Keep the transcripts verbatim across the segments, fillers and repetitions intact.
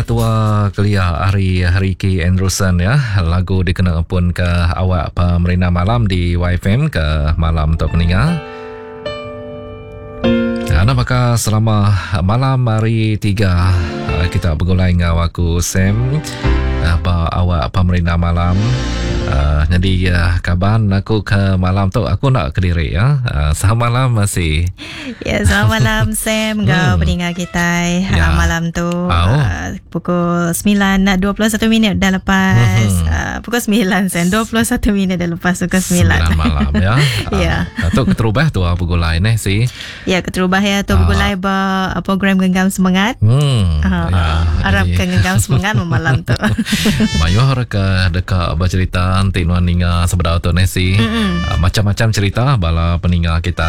Tua Kelia ari Ricky Andrewson ya. Lagu dikena pun ke awak pemerintah malam di Y F M ke malam untuk meninggal. Nah, maka selama malam hari tiga kita bergulai dengan aku Sam apa awak pemerintah malam. Uh, jadi uh, kaban aku ke malam tu aku nak ke diri ya. Uh, selamat malam masih. Ya, selamat malam Sam ngau hmm. pendengar kita ya. uh, malam tu oh. uh, pukul sembilan dua puluh satu minit dah lepas hmm. uh, pukul sembilan Sam dua puluh satu minit dah lepas pukul sembilan. sembilan malam ya. Ya. Uh, tu keterubah tu pukul lain eh si. Ya, keterubah ya tu pukul lain ba program Genggam Semangat. Hmm. Uh, ya. Harap ke Genggam Semangat malam tu. Mayuh ke dekat bercerita nanti nuan ninga sebenar tu nesi. Uh, macam-macam cerita bala peninga kita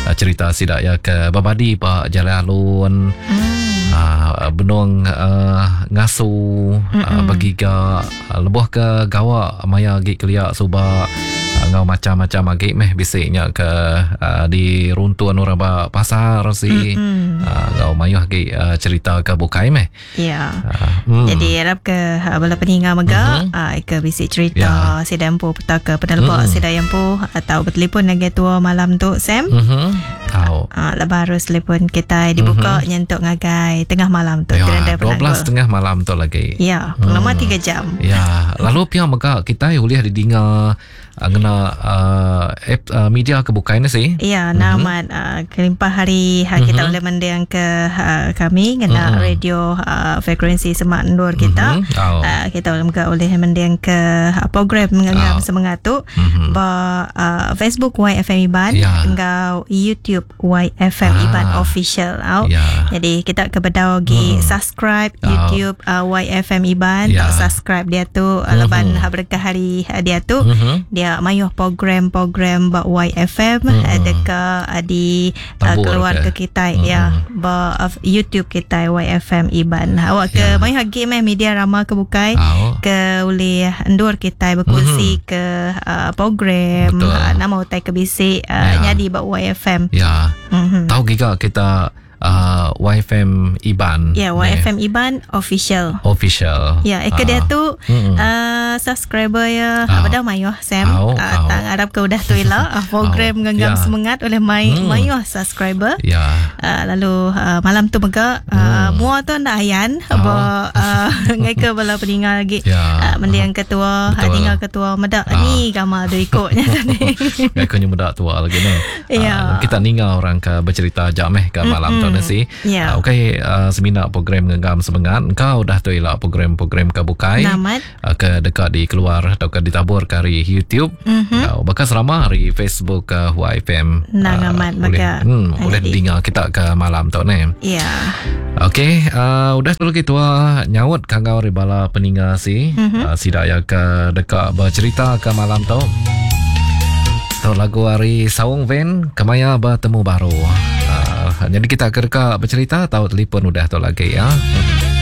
uh, cerita sidak ya ke babadi pak jalan alun mm. uh, benung uh, ngasu uh, bagiga uh, lebuh ke gawak maya gi keliak subak uh, ngau macam-macam agi meh bisiknya ke uh, di runtuan orang ba pasar si uh, ngau mayuh agi uh, cerita ke bukai meh. Ya. Uh, mm. Jadi harap ke uh, bala peninga mega mm-hmm. uh, ke bisik cerita ya. Sidang empu peta ke penelpok mm. sidang empu atau bertelefon lagi tua malam tu Sam. Mhm. Tahu. Ah, lepas harus telefon kita dibuka mm-hmm. nyentuk ngagai tengah malam tu. Ya, dua belas tengah malam tu lagi. Ya, lama hmm. tiga jam. Ya, lalu pihak mega kita boleh didengar ngena uh, app uh, media kebukai ni sih. Ya, namat mm-hmm. uh, kelimpah hari uh, kita mm-hmm. boleh mendeng ke uh, kami ngena mm-hmm. radio uh, frekuensi semak nur kita. Mm-hmm. Oh. Uh, kita boleh mega boleh mendeng ke uh, program Genggam oh. Semangat tu mm-hmm. ba uh, Facebook Y F M Iban ya. Enggau YouTube Y F M ah. Iban Official. Oh. Ya. Jadi kita ke bedau gi mm. subscribe oh. YouTube uh, Y F M Iban ya. tak subscribe dia tu uh, mm-hmm. leban berkah hari uh, dia tu mm-hmm. dia mayuh program-program bak Y F M mm-hmm. dekat di uh, keluar ke, ke kita mm-hmm. ya ba uh, YouTube kita Y F M Iban. Awak ke ya. mayuh agi meh media rama ke bukai oh. ke boleh endur kita berkongsi mm-hmm. ke uh, program uh, nama utai ke bisik uh, ya. nyadi bak Y F M. Ya. Mm-hmm. Tahu giga kita Uh, Y F M Iban. Ya, Y F M Iban Official. Official. Ya, eka uh. dia tu mm-hmm. uh, subscriber ya. Uh. Apa dah mayuh Sam. Oh, uh, oh. Tang harap ke udah tu ila uh, program oh. Genggam ya. Semangat oleh mai mm. mayuh subscriber. Ya. Uh, lalu uh, malam tu mega uh, mm. mua tu ndak ayan oh. ba uh, ngai ke bala peningal lagi. Ya. Uh, mendiang ketua, Betul. tinggal ketua medak uh. ni gamal tu ikutnya tadi. Ngai ke nyemedak tua lagi ni. Ya. Uh, kita ningal orang ke bercerita jap meh ke malam Mm-mm. tu nasi. Ya. Uh, okey, uh, semina program Genggam Semangat kau dah tu elak program-program ke bukai. Namat. Uh, ke dekat di keluar atau ke ditabur ke hari YouTube. Mm-hmm. Uh, bahkan selama hari Facebook ke Y F M. Nangamat uh, boleh, maka. Hmm, boleh dengar kita ke malam tu ni. Ya. Okey, uh, udah tu lagi tua nyaut kangau ribala peninga si. Mm-hmm. Uh, sidak ya ke dekat bercerita ke malam tu. Tu lagu hari Saung Van Kemaya bertemu baru. Uh, jadi kita ke dekat bercerita tahu telefon udah tu lagi ya.